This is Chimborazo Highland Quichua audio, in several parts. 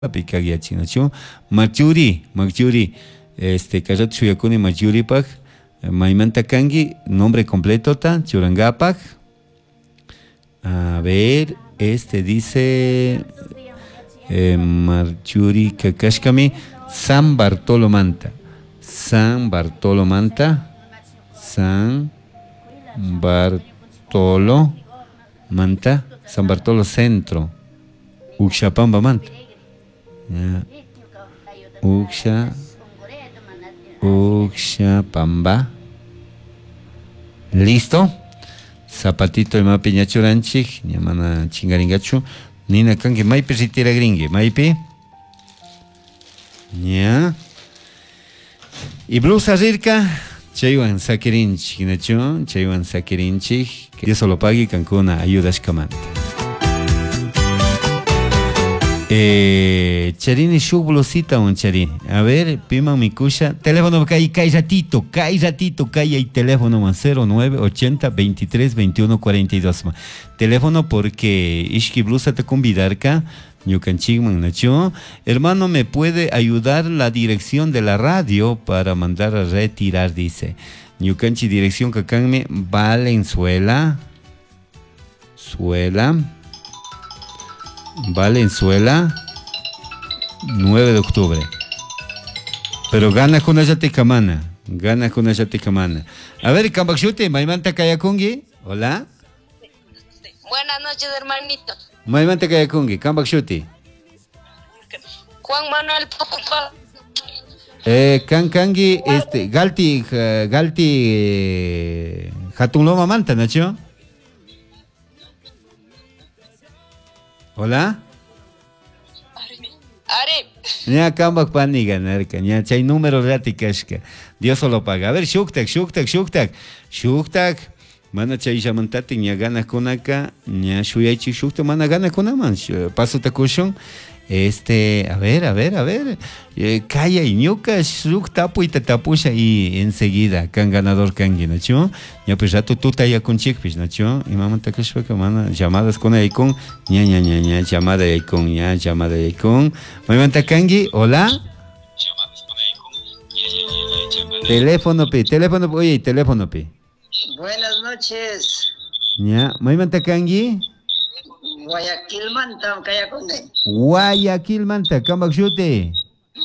Pikak Machuri, Machuri, este kallatu shuyakuni Machuripak, maymanta kanki, nombre completo ta, churangapak. A ver, este dice Marchuri Kakashkami, San Bartolo Manta. San Bartolo Manta. San Bartolo Manta. San Bartolo Centro. Uxapamba Manta. Ya. Uxa. Uxapamba. Listo. Zapatito imapi ñachuranchik, ña mana chingaringachu. Nina kanki maypi ritiragrinki, maypi. Ña. Y blusa rirka, chaywan sakirinchik, nachu, chaywan sakirinchik. Que Dios lo pague kankuna ayudashkamanta. Charini shuk blusita un charini. A ver, piman mikusha. Teléfono kay kay ratito, kay ratito, kay hay teléfono man 09 80 23 21 42 ma. Teléfono porque ishki blusa te convidarka. Ñukanchikman nachu. Hermano, ¿me puede ayudar la dirección de la radio para mandar a retirar? Dice. Ñukanchi dirección kakanmi Valenzuela. Suela. Valenzuela, 9 de octubre. Pero gana con kamana. Gana con kamana. A ver, Kambakshuti, maymanta kayakungi. Hola. Buenas noches, hermanito. Maymanta kayakungi, Kambakshuti. Juan Manuel Popa. Kankangi, este, Galti, Galti, Hatunloma Manta, Nacho. Hola. Ari. Ña kambak pani ganarka, ña chay número rati kashka. Dios solo paga. A ver, shuktak, shuktak, shuktak. Shuktak. Mana chay llamantati ña ganakunaka, ña shuyaychik shuktak, mana ganakunaman. Paso takushun. Este, a ver, a ver, a ver. Kaya y ñuka shuk tapu y tatapusha y enseguida kan ganador kangi, nacho. Ña pues rato tuta ya con chikpis, nacho. Y mamá takashpaka mana llamadas con ahí con ña ña ña ña llamada ahí con ña llamada ahí con. Mamá kangi, hola. Teléfono pi, teléfono, oye, teléfono pi. Buenas noches. Ña, mamá kangi. Guayaquil Manta, Cayaconde. Guayaquil Manta, Kambakshuti.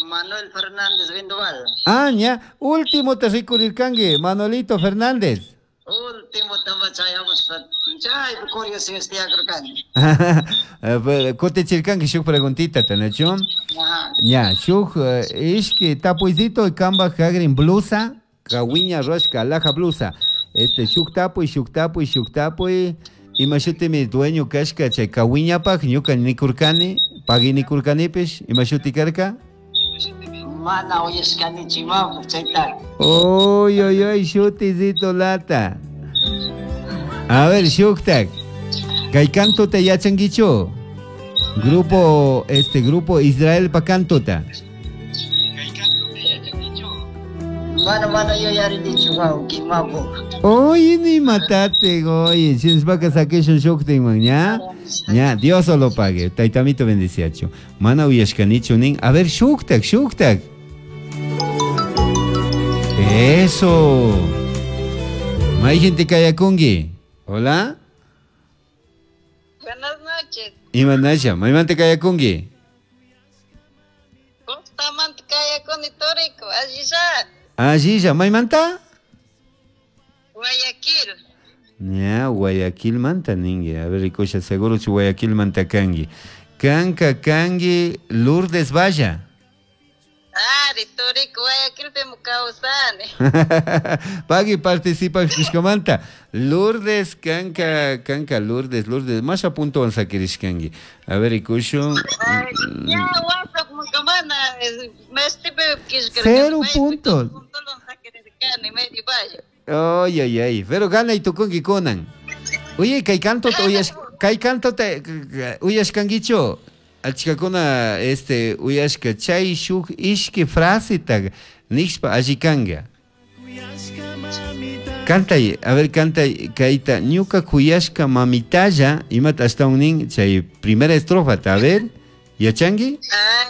Manuel Fernández Vendoval. Ah, ña, último te ricurirkangi, Manolito Fernández. Último tamachayamos, chay, curioso este acrocan. Kutichirkangi shuk preguntita, tanacho. Ña, shuk, ishki tapuizito kamba hagrin blusa, kawiña roshka, alhaja blusa. Este, shuk tapuy, shuk tapuy, shuk tapuy. Imashuti mi dueño kashka chay kawiñapaj ñuka nikurkani, pagui nikurkanipish, imashuti karka? Mana oyeshkani chimapu chayta. Oy, oy, oy, shutisito lata. A ver, shuktak. Kay kantuta yachankichu? Grupo, este grupo Israel pa kantuta. Mana mana yo yarinichu wawqi mapu. Oye, ni matate, oye, si es saqueshun shuktin man, ña? Ña, Dios lo pague. Taitamito bendiciacho. Mana uyashkanichu nin. A ver, shuktak, shuktak. Eso. May gente kayakungi. Hola. Buenas noches. Imanasha, maymanta kayakungi. Bustamante kayakuni toriko, allilla. Allilla, maymanta? Guayaquil. Ña, Guayaquil manta ningue. A ver, rikusha, seguro si Guayaquil manta kangi. Kanka kangi Lourdes Valla. Ari, toriko, Guayaquil pemu kawsani. Pagui participa kushkamanta. Lourdes, kanka, kanka, Lourdes, Lourdes. Más a punto kangi. A ver, rikushun. Ya, WhatsApp mukamana, me 0 puntos. Ay, ay, ay. Pero gana y tukungi kunan. Oye, kay canto te uyas, kay canto te uyashkankichu. Achkakuna este uyashka chay shuk ishki fraseta nishpa allikanga. Cantay, a ver, cantay, kaita, ñuka kuyashka mamitalla, imata ashtawan nin, chay primera estrofa, a ver. Yachanki? Ah.